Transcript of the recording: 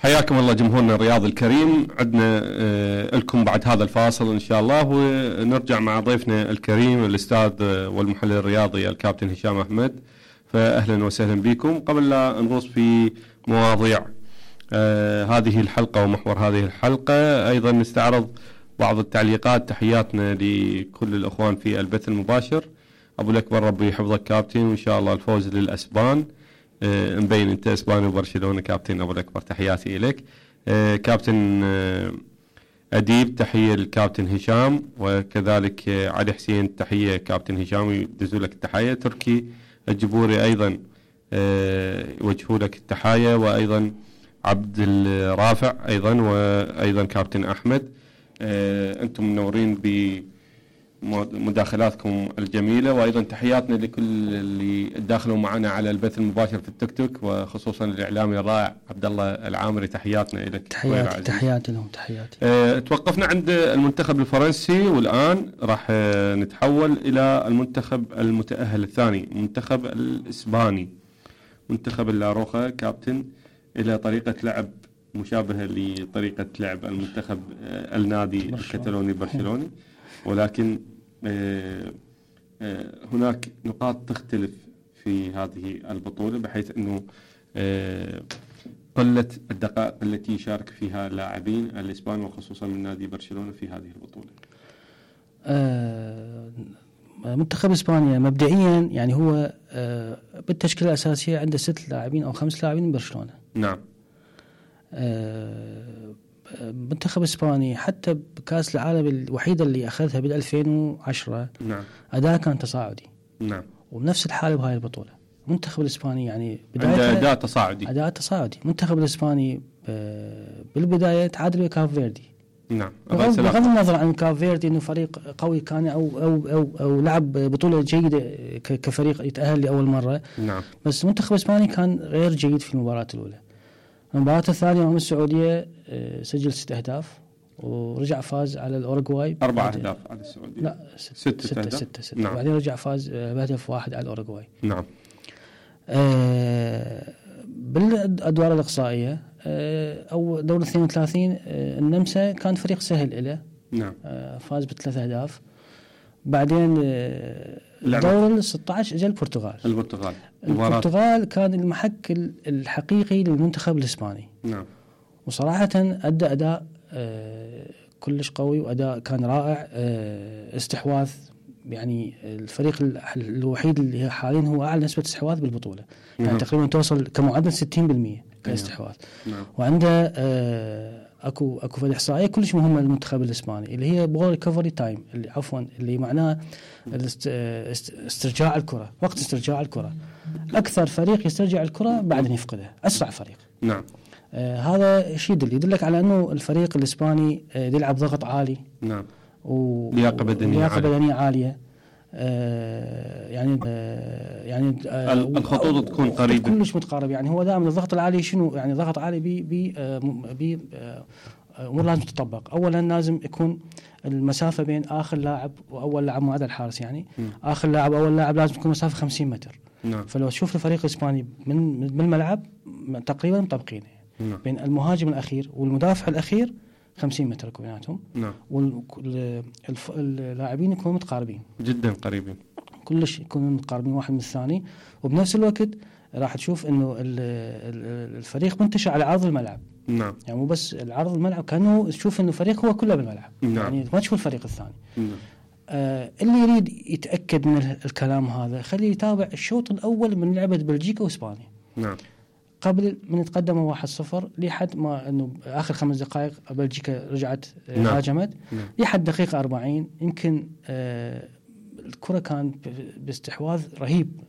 حياكم الله جمهورنا الرياضي الكريم. عندنا لكم بعد هذا الفاصل إن شاء الله، ونرجع مع ضيفنا الكريم الأستاذ والمحلل الرياضي الكابتن هشام أحمد. فأهلا وسهلا بكم. قبل لا نغوص في مواضيع هذه الحلقة ومحور هذه الحلقة، أيضا نستعرض بعض التعليقات. تحياتنا لكل الأخوان في البث المباشر. أبو الأكبر ربي يحفظك كابتن، وإن شاء الله الفوز للأسبان. مبين انت اسباني وبرشلونه كابتن ابو الاكبر، تحياتي اليك. كابتن اديب تحيه للكابتن هشام، وكذلك علي حسين تحيه كابتن هشام يدزوا لك التحيه. تركي الجبوري ايضا يوجهوا لك التحيه، وايضا عبد الرافع ايضا، وايضا كابتن احمد. انتم منورين بمداخلاتكم الجميلة، وأيضا تحياتنا لكل اللي داخلوا معنا على البث المباشر في التيك توك، وخصوصا الإعلامي الرائع عبد الله العامري. تحياتنا لك. تحياتي لهم. تحياتي. توقفنا عند المنتخب الفرنسي، والآن راح نتحول إلى المنتخب المتأهل الثاني، المنتخب الإسباني، منتخب اللاروخا كابتن، إلى طريقة لعب مشابهة لطريقة لعب المنتخب النادي الكتالوني برشلوني، ولكن هناك نقاط تختلف في هذه البطولة، بحيث أنه قلة الدقائق التي يشارك فيها اللاعبين الإسبان، وخصوصا من نادي برشلونة في هذه البطولة. منتخب إسبانيا مبدئيا يعني هو بالتشكيلة الأساسية عنده 6 لاعبين أو 5 لاعبين من برشلونة. نعم. منتخب إسباني حتى بكأس العالم الوحيدة اللي أخذها بال2010 نعم أداء كان تصاعدي. نعم. وبنفس الحالة بهاي البطولة. المنتخب الإسباني يعني عنده أداء تصاعدي. المنتخب الإسباني بالبداية تعادل ويا كاب فيردي. نعم. بغض النظر عن كاب فيردي إنه فريق قوي كان أو لعب بطولة جيدة كفريق يتأهل لأول مرة. نعم. بس المنتخب الإسباني كان غير جيد في المباراة الأولى. المباراة الثانية أمام السعودية سجل 6 أهداف، ورجع فاز على الأوروغواي 4 أهداف على السعودية. لا 6. نعم. بعدين رجع فاز بهدف 1 على الأوروغواي. نعم. بالأدوار الإقصائية أو دور 32 النمسا كان فريق سهل له. نعم. فاز ب3 أهداف. بعدين دور 16 اجى البرتغال كان المحك الحقيقي للمنتخب الإسباني. نعم. وصراحة أدى أداء كلش قوي، وأداء كان رائع. استحواذ، يعني الفريق الوحيد اللي حاليا هو أعلى نسبة استحواذ بالبطولة. يعني تقريبا توصل كمعدل 60% كاستحواذ. نعم. وعنده اكو فد احصائيه كلش مهمه للمنتخب الاسباني، اللي هي بول ريكفري تايم، اللي معناه استرجاع الكره، وقت استرجاع الكره. اكثر فريق يسترجع الكره بعد ان يفقدها، اسرع فريق. نعم. هذا شيء يدلك على انه الفريق الاسباني يلعب ضغط عالي. نعم. ولياقه بدنيه عاليه. يعني الخطوط تكون قريبة، كلش متقارب. يعني هو دائما الضغط العالي شنو؟ يعني ضغط عالي ب امور لازم تطبق. اولا لازم يكون المسافه بين اخر لاعب واول لاعب، معدل الحارس يعني اخر لاعب واول لاعب لازم تكون مسافه 50 متر. نعم. فلو تشوف الفريق الاسباني من الملعب تقريبا مطبقين. نعم. بين المهاجم الاخير والمدافع الاخير 50 متر بيناتهم. نعم. واللاعبين يكونوا متقاربين جدا، قريبين كلش، يكونوا متقاربين واحد من الثاني. وبنفس الوقت راح تشوف انه الفريق منتشر على عرض الملعب. نعم. يعني مو بس العرض الملعب، كانه تشوف انه الفريق هو كله بالملعب. نعم. يعني ما تشوف الفريق الثاني. نعم. اللي يريد يتاكد من الكلام هذا خليه يتابع الشوط الاول من لعبه بلجيكا واسبانيا. نعم. قبل من تقدموا 1-0 لحد ما انه اخر 5 دقائق بلجيكا رجعت هاجمت. نعم. لحد دقيقه 40 يمكن الكره كان باستحواذ رهيب